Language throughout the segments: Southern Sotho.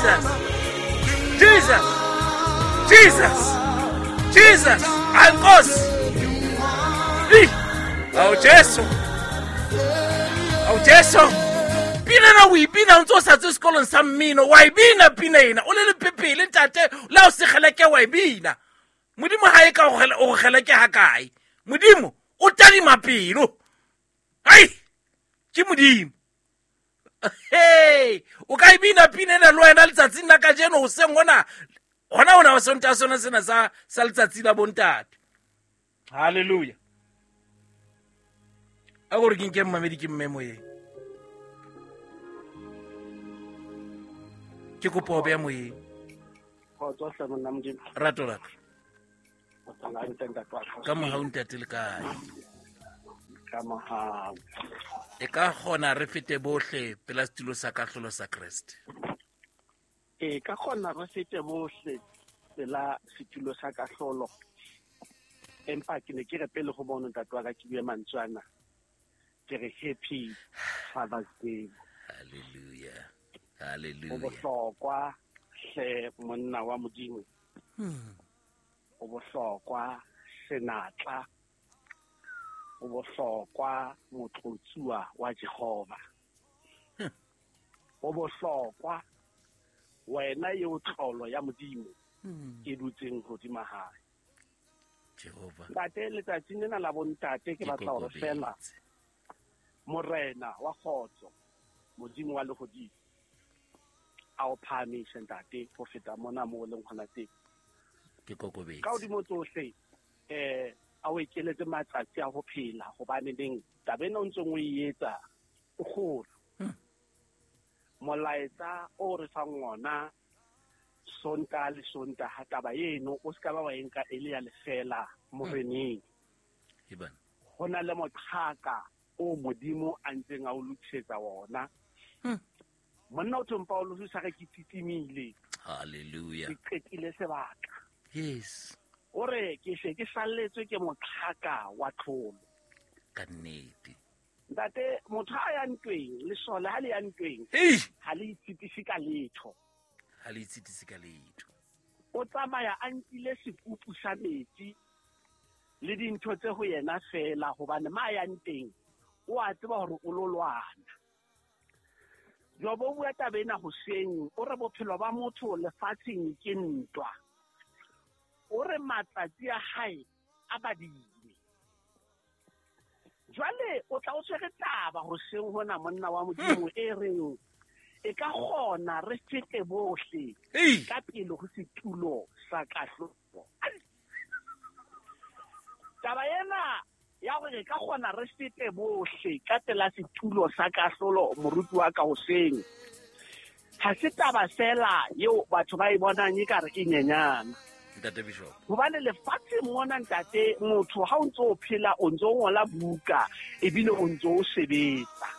Jesus, Jesus, Jesus, Jesus. Hayi Nkosi. Awu Jesu, awu Jesu. Pina ena o e bina o ntse o sa tswe sekolong sa mmino, wa e bina pina ena o le lepepele ntate, le ha o se kgeleke wa e bina. Modimo ha e ka o kgeleke ha kae? Modimo o tadima pelo. Hai, ke Modimo. Hey, o ka e bina pina ena le wena letsatsing la kajeno hoseng hona, hona hona Sontaha sona sena sa letsatsi la bontate. Hallelujah. A gore ke nke mmamedi ke mme moyeng. Ke kopa o beya moyeng. Rato la ka. Ka mohau ntate le kae? Ka mohau. E ka kgona re fete bohle pela setulo sa kahlolo sa Kreste. E ka kgona re fete bohle pela setulo sa kahlolo. Empa ke ne ke re pele ho bona ntate wa ka ke bue mantswe ana. Ke re happy Father's Day. Hallelujah. Hallelujah. Ho bohlokwa hle monna wa Modimo. Ho bohlokwa senatla. Ho bohlokwa motlotsuwa wa Jehova. Ho bohlokwa wena eo tlolo ya Modimo e dutseng hodima hae. Jehova. Ntate, letsatsing lena la bontate ke batla hore fela Morena wa kgotso, Modimo wa lehodimo, a o phahamise ntate ho feta mona moo o leng hona teng. Ke kokobetse. Ka hodimo tsohle, a o ekeletse matsatsi a ho phela, hobane neng taba ena o ntseng o e etsa o kgolo. Molaetsa o re fang ona Sontaha le Sontaha, taba eno o se ka ba wa e nka e le ya lefela moreneng. Ho na le moqhaka o Modimo a ntseng a o lokisetsa wona. Monna o thong Paulus o sa re ke titimile. Hallelujah. Ke qetile sebaka. Yes. O re ke se ke salletswe ke moqhaka wa tlholo. Ka nnete. Ntate, motho ha ya ntweng, lesole ha le ya ntweng, ha le itshitise ka letho. Ha le itshitise ka letho. O tsamaya a nkile sekupu sa metsi le dintho tse ho yena fela, hobane ma yang teng o a tseba hore o lo lwana. Jobo o bua taba ena hoseng, o re bophelo ba motho lefatsheng ke ntwa. O re matsatsi a hae a badile. Jwale o tla o tshwere taba hoseng hona monna wa Modimo e reng e ka kgona re fete bohle ka pele ho setulo sa kahlolo. Taba ena ya hore re ka kgona re fete bohle ka pela setulo sa kahlolo, moruti wa ka hoseng, ha se taba fela eo batho ba e bonang e ka re e nyenyana. Ntate Bishop. Hobane lefatsheng mona ntate, motho ha o ntso o phela o ntso o ngola buka ebile o ntso o sebetsa.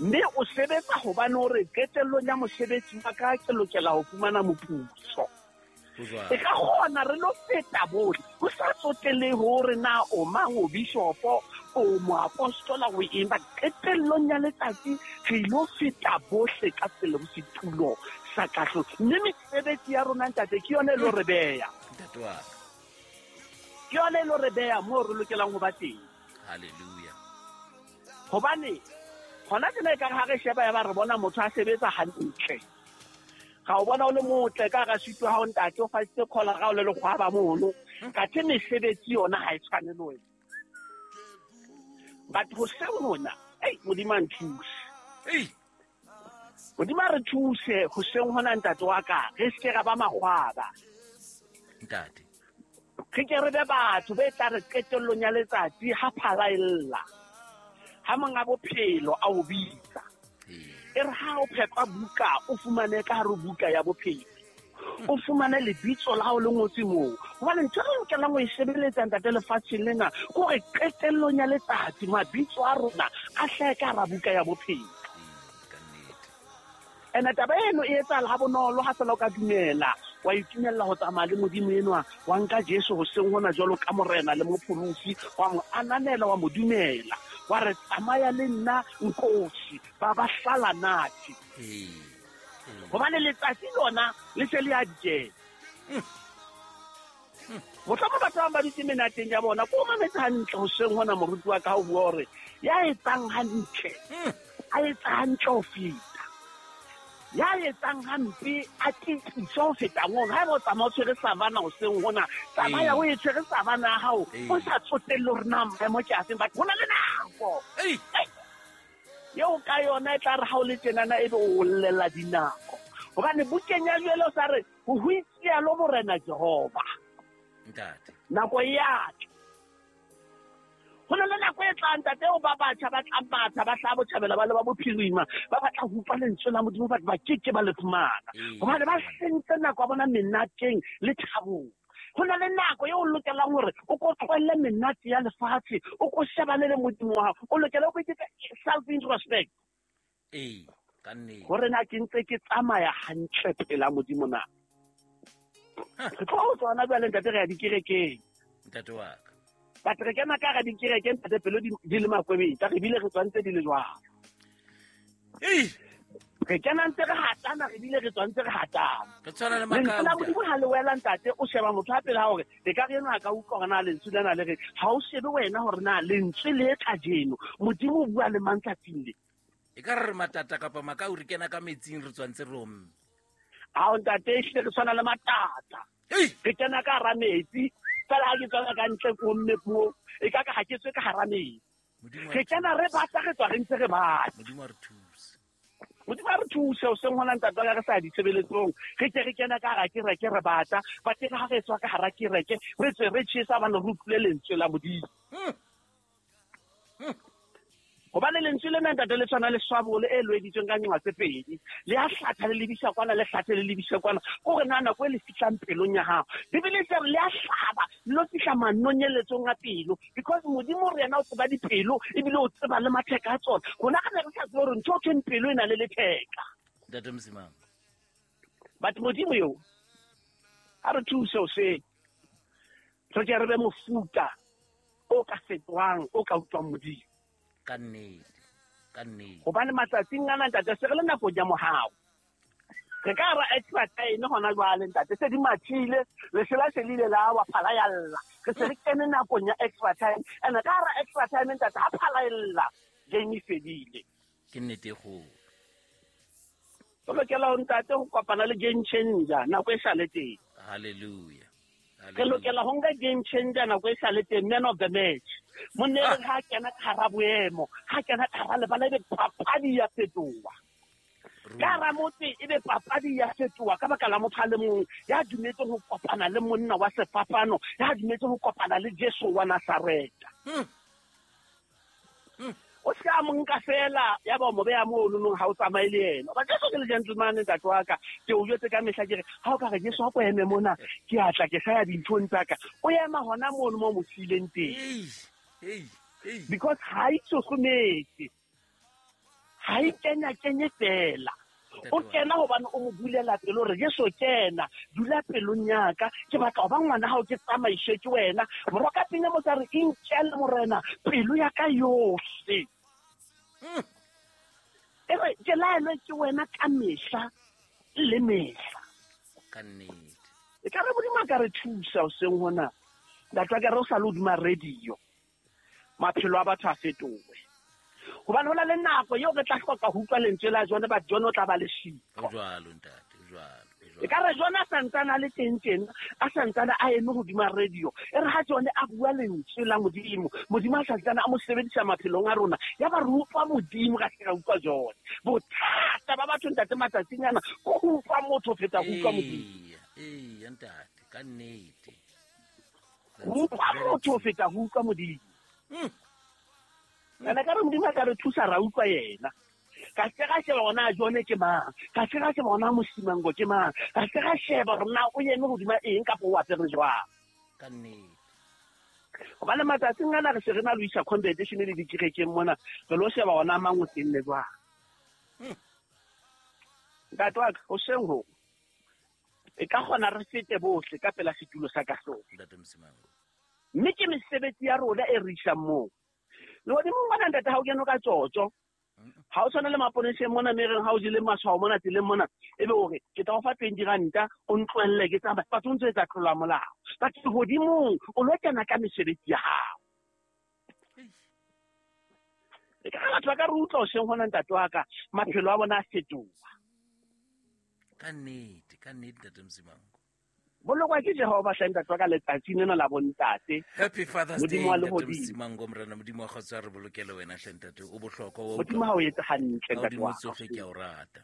Mme o sebetsa hobane o re qetellong ya mosebetsi wa ka ke lokela ho fumana moputso. E ka kgona re lo feta bohle, ho sa tsotelehe hore na o mang, o bishopo, o moapostola, o eng, ba qetellong ya letsatsi re ilo feta bohle ka pele ho setulo sa kahlolo. Mme mesebetsi ya rona ntate ke yona e lo re beya. Ntate wa ka. Ke yona e lo re beya moo re lokelang ho ba teng. Hallelujah. Hobane hona tjena ekare ha re sheba ya ba re bona motho a sebetsa hantle. Ga o bona o le motle ka hara sutu ha o ntate o fasitse collar ha o le lekgwaba mono. Kathe mesebetsi yona ha e tshwane le wena. But hoseng hona, ei, Modimo a nthuse. Ei. Modimo a re thuse hoseng hona ntate wa ka, re se ke ra ba makgwaba. Ntate. Re ke re be batho be tla re qetellong ya letsatsi ha phala e lla. Ha monga bophelo a o bitsa. E re ha o phetla buka, o fumane ka hare buka ya bophelo. O fumane lebitso la hao le ngotswe moo. Hobane ntho e re lokelang ho e sebeletsa ntate lefatsheng lena, ke hore qetellong ya letsatsi mabitso a rona a hlahe ka hara buka ya bophelo. Ene taba eno e etsahala ha bonolo ha fela o ka dumela, wa itumella ho tsamaya le Modimo enwa, wa nka Jesu hoseng hona jwalo ka Morena le Mopholosi, wa mo ananela, wa mo dumela, wa re tsamaya le nna nkosi, ba ba hlala nathi. Gobane letsatsi lona le se le a dikela. Mohlomong batho ba bang ba dutse menateng ya bona, ko o mametse hantle hoseng hona moruti wa ka ha o bua hore ya etsang hantle, a etsa hantle ho feta. Ya etsang hampe a tliswe ho feta mono. Haeba o tsamaya o tshwere savana hoseng hona, tsamaya o e tshwere savana ya hao, o sa tsotelle hore na maemo ke afeng, but ho na le nako eo ka yona e tla re ha o le tjenana ebe o llela dinako. Hobane bukeng ya Joele o sa re, ho hoitsialo Morena Jehova. Ntate. Nako e a tla. Ho na le nako e tlang, ntate, eo ba batjha ba tla matha, ba hlaha botjhabela ba le ba bophirima, ba batla ho utlwa lentswe la Modimo, but ba ke ke ba le fumana. Hobane ba sentse nako ya bona menateng le thabong. Ho na le nako eo o lokelang hore o ko tlohelle menate ya lefatshe, o ko shebane le Modimo wa hao. O lokela o ko iketse self-introspect. Ee, ka nnete. Hore na ke ntse ke tsamaya hantle pela Modimo na. Re tlo ho tsona jwale, ntate, re ya dikerekeng. Ntate wa ka. But re kena ka hara dikereke, ntate, pelo di le makwebetsa, re bile re tswantse di le jwalo. Re kena ntse re hatana, re bile re tswantse re hatana. Re tshwana le Lentswe la makauta. Modimo ha le wela, ntate, o sheba motho a pele ha hore e ka re enwa a ka utlwa hore na lentswe lena le re, ha o shebe wena hore na lentswe le kajeno Modimo o bua le mang tsatsing le. E ka re re matata kapa makau, re kena ka metsing, re tswantse re omme. Ao, ntate, ehlile re tshwana le matata. Re kena ka hara metsi, fela ha ke tswela ka ntle ko omme puo, e ka ka ha ke tswe ka hara metsi. Re kena re bata, re tswa re ntse re bata. Modimo a re thuse. Modimo a re thuse, o seng hona ntate wa ka re sa ditshebeletsong. Re ke re kena ka hara kereke re bata, ba ke ha re tswa ka hara kereke, re tswe re tjhesa hobane re utlwile lentswe la Modimo. Hobane lentswe lena, ntate, le tshwana le swabole e loeditsweng ka nqa tse pedi. Le a hlatha le lebisa kwana, le hlathe le lebisa kwana. Ke hore na nako e le fihlang pelong ya hao. Bibele e re le a hlaba, le lo fihla manonyeletsong a pelo. Because Modimo re yena o tseba dipelo, ebile o tseba le matheka a tsona. Rona re ne re sa tsebe hore ntho e thweng pelo e na le letheka. Ntate Msimang. But Modimo eo, ha re thuse hoseng. Re ke re be mofuta o ka fetohang, o ka utlwang Modimo. Ka nnete, ka nnete. Hobane matsatsing ana, ntate, se re le nakong ya mohau. Re ka ra extra time hona jwale, ntate, se di mathile, lesela se le ile la wa phala ya lla. Re se re kene nakong ya extra time. And ka ra extra time, ntate, ha phala e lla, game e fedile. Ke nnete e kgolo. Re lokela ho, ntate, ho kopana le game changer nako e sa le teng. Hallelujah. Re lokela ho nka game changer nako e sa le teng, man of the match. Monna e re ha kena ka hara boemo, ha kena ka hara lebala, ebe papadi ya fetoha. Ka hara motse ebe papadi ya fetoha ka baka la motho a le mong ya dumetseng ho kopana le monna wa sefapano, ya dumetseng ho kopana le Jesu wa Nazareta. O se ka mo nka fela, ya ba o mo beha mono nong ha o tsamaye le yena. Hoba Jesu ke le gentleman, ntate wa ka, ke o jwetse ka mehla ke re, ha o ka re Jesu ha ko eme mona, ke a tla ke sa ya dinthong tsa ka. O ema hona mono mo mo siileng teng. Because ha e tsosometse, ha e kenya kenye fela. O kena hobane o mo bulela pelo hore Jesu kena, dula pelong ya ka, ke batla ho ba ngwana hao, ke tsamaiswe ke wena. Moroka pina mo tsa re, inkele Morena pelo ya ka yohle. E re ke laelwe ke wena ka mehla le mehla. Ka nnete. E ka re Modimo a ka re thusa hoseng hona. Ntate wa ka re o sa le hodima radio, maphelo a batho a fetohe. Hobane ho na le nako eo re tla hloka ho utlwa lentswe la John, but John o tla ba le siko. Ho jwalo, ntate, ho jwalo, ho jwalo. E ka re John a santsane a le teng tjena, a santsane a eme hodima radio. E re ha John a bua lentswe la Modimo, Modimo a santsane a mo sebedisa maphelong a rona, ya ba re utlwa Modimo ka se ra utlwa John. Bothata ba batho, ntate, matsatsing ana, ke ho utlwa motho ho feta ho utlwa Modimo. Eya, eya, ntate, ka nnete. Ho utlwa motho ho feta ho utlwa Modimo. Ene ka re Modimo a ka re thusa ra utlwa yena. Ka se ka sheba hore na John ke mang, ka se ka sheba hore na Mosimango ke mang, ka se ka sheba hore na o eme hodima eng kapa o apere jwang. Ka nnete. Hobane matsatsing ana re se re na le ho isa competition le dikerekeng mona, re lo sheba hore na mang o tenne jwang. Ntate wa ka, hoseng ho, e ka kgona re fete bohle ka pela setulo sa kahlolo. Ntate Mosimango. Mme ke mesebetsi ya rona e re isang moo. Lehodimong mona, ntate, ha o kene ka tjotjo, Ha o tshwana le maponeseng mona mme reng ha o jele matshwao mona tseleng mona, ebe o re ke tla o fa 20 ranta o ntlohelle ke tsamaya. Batho o ntso etsa tlolo ya molao. Batho hodimong o lo kena ka mesebetsi ya hao. E ka batho ba ka re utlwa hoseng hona ntate wa ka, maphelo a bona a fetoha. Ka nnete, ntate Msimango. Bolokwa ke Jehova hle ntate wa ka letsatsing lena la bontate. Happy Father's Day ntate Msimango, morena Modimo wa kgotso a re bolokele wena hle ntate, o bohlokwa wa Modimo ha o etse hantle ntate wa ka. Tsohle ke a o rata.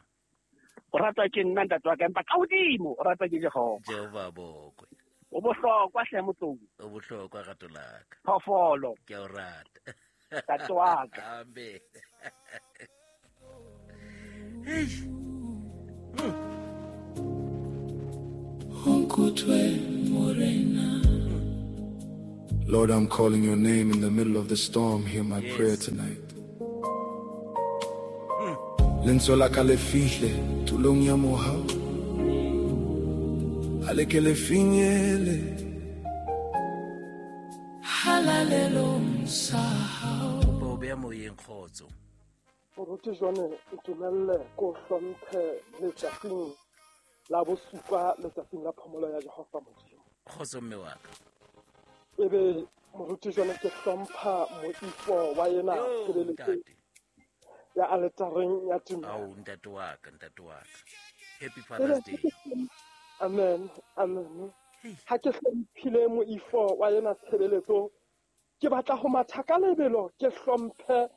O ratwa ke nna ntate wa ka, empa ka hodimo o ratwa ke Jehova. Jehova bokwe. O bohlokwa hle motlou. O bohlokwa rato la ka. Phoofolo. Ke a o rata. Ntate wa ka. Amen. Hey. Lord, I'm calling your name in the middle of the storm. Hear my prayer tonight. Lentswe la ka le fihle tulong ya mohau, a le ke le finyele halalelong sa hao. Bo beya moyeng kgotso. Moruti Jone, ntumelle ko hlomphe letsatsing la bosupa, letsatsing la phomolo ya Jehova Modimo. Kgotso mme wa ka. Ebe moruti Jone ke hlompha moifo wa yena tshebeletso ya aletareng ya tumelo. Ao ntate wa ka, ntate wa ka. Happy Father's Day. Amen, amen. Ha ke hlomphile moifo wa yena tshebeletso, ke batla ho matha ka lebelo, ke hlomphe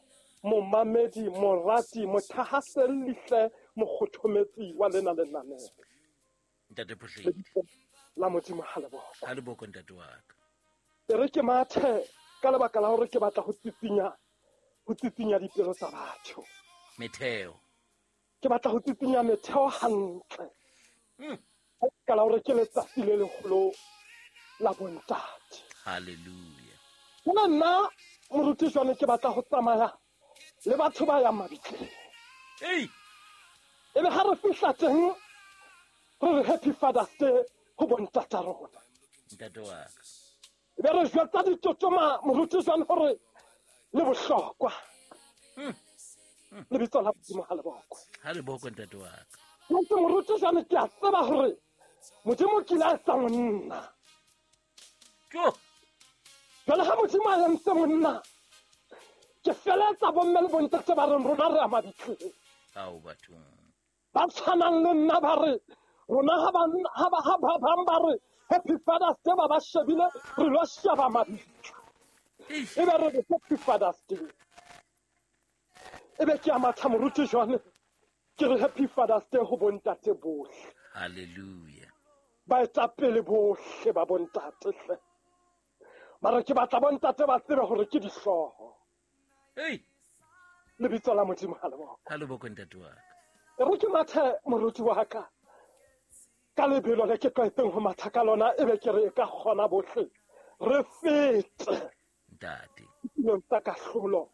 momamedi, morati, mothahaselli hle, mokgothometsi wa lena lenaneo. Ntate Phohledi. La Modimo ha le boko. Ha le boko ntate wa ka. E re ke mathe ka lebaka la hore ke batla ho tsitsinya dipelo tsa batho. Metheo. Ke batla ho tsitsinya metheo hantle. Ka la hore ke letsatsi le leholo la bontate. Hallelujah. Nna nna moruti Jone ke batla ho tsamaya le batho ba yang mabitleng. Ei. Ebe ha re fihla teng re re Happy Father's Day ho bontata rona. Ntate wa ka. Ebe re jwetsa ditotoma moruti Jone hore le bohlokwa. Lebitso la Modimo ha le bokwe. Ha le bokwe ntate wa ka. Ntse moruti Jone ke a tseba hore Modimo ke la etsa monna. Jo. Jwale ha Modimo a entse monna, ke feletsa bomme le bontate ba reng rona re a mabitleng. Ao bathong. Ba tshwanang le nna ba re rona ha ba bang ba re Happy Father's Day ba shebile re lo sheba mabitla. Ebe re re Happy Father's Day. Ebe ke a matha moruti Jone ke re Happy Father's Day ho bontate bohle. Hallelujah. Baetapele bohle ba bontate hle. Mara ke batla bontate ba tsebe hore ke dihlooho. Hey. Lebitso la Modimo ha le boko. Ha le boko ntate wa ka. E re ke mathe moruti wa ka. Ka lebelo le ke tlwaetseng ho matha ka lona, ebe ke re e ka kgona bohle re fete ntate tulong tsa kahlolo,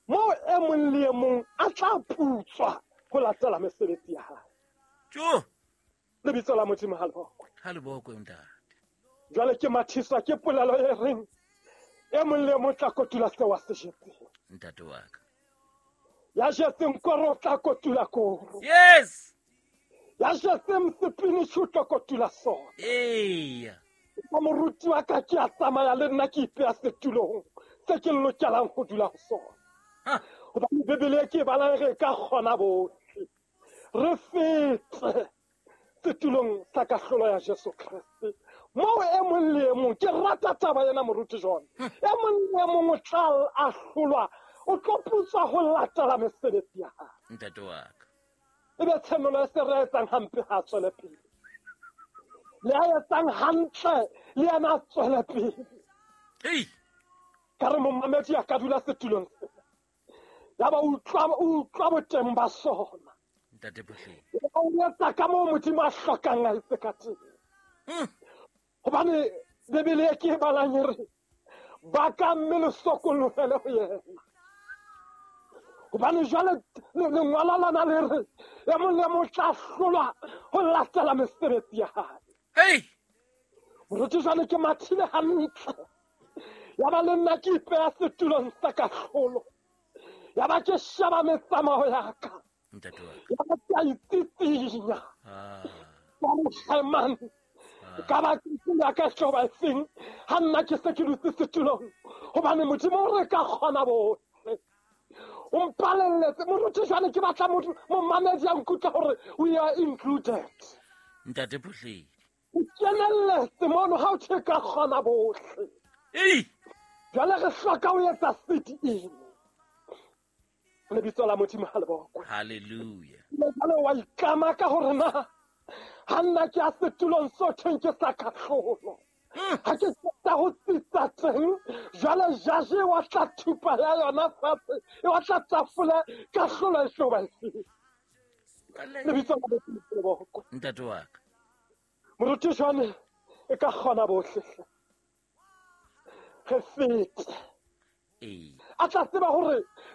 moo e mong le e mong a tla putswa ho latela mesebetsi ya hae. Jo. Lebitso la Modimo ha le bokwe. Ha le bokwe ntate. Jwale ke mathiswa ke polelo e reng e mong le e mong tla kotula seo a se jetseng. Ntate wa ka. Ya jetseng koro o tla kotula koro. Yes. Ya jetseng sepinitjhi o tla kotula sona. Eya. Ka moruti wa ka ke a tsamaya le nna ke ipeya setulong se ke lokelang ho dula ho sona. Hobane Bibele ke e balang re ka kgona bohle re fete setulong sa kahlolo ya Jesu Kreste. Moo e mong le e mong, ke rata taba ena moruti Jone, e mong le e mong o tla ahlolwa, o tlo putswa ho latela mesebetsi ya hae. Ntate wa ka. Ebe tshenolo e se re etsang hampe ha tswele pele. Le a etsang hantle le yena a tswele pele. Ei. Ka re momamedi a ka dula setulong sena. Ya ba utlwa boteng ba sona. Ntate Phohledi. O etsa ka moo Modimo a hlokang a etse ka teng. Hobane Bibele e ke e balang e re ba ka mme le sokolohele ho yena. Hobane jwale lengolo lona le re e mong le mong tla hlolwa ho latela mesebetsi ya hae. Hey. Moruti jwale ke mathile hantle. Ya ba le nna ke ipeya setulong sa kahlolo. Ya ba ke sheba metsamao ya ka. Ya ba ke a itsitsinya. Ka re, man, ka ba ke ya ka tlo ba efeng ha nna ke se ke dutse setulong, hobane Modimo o re ka kgona bohle. O mpalelletse moruti, jwale ke batla momamedi a nkutlwa hore we are included. Ntate Phuhledi, o kenelletse mono ha o tjhe ka kgona bohle. Jwale re hloka ho etsa sit-in. Lebitso la Modimo ha le bokwe. Hallelujah. Jwale wa itlama ka hore na ha nna ke a setulong so thweng ke sa kahlolo, ha ke qeta ho tsitsa teng, jwale jaje wa tla thupa ya yona fatshe, e wa tla tafole, kahlolo e tlo ba efeng? Lebitso la Modimo le bokwe. Ntate wa ka. Moruti, jwane e ka kgona bohle re fete. A tla tseba hore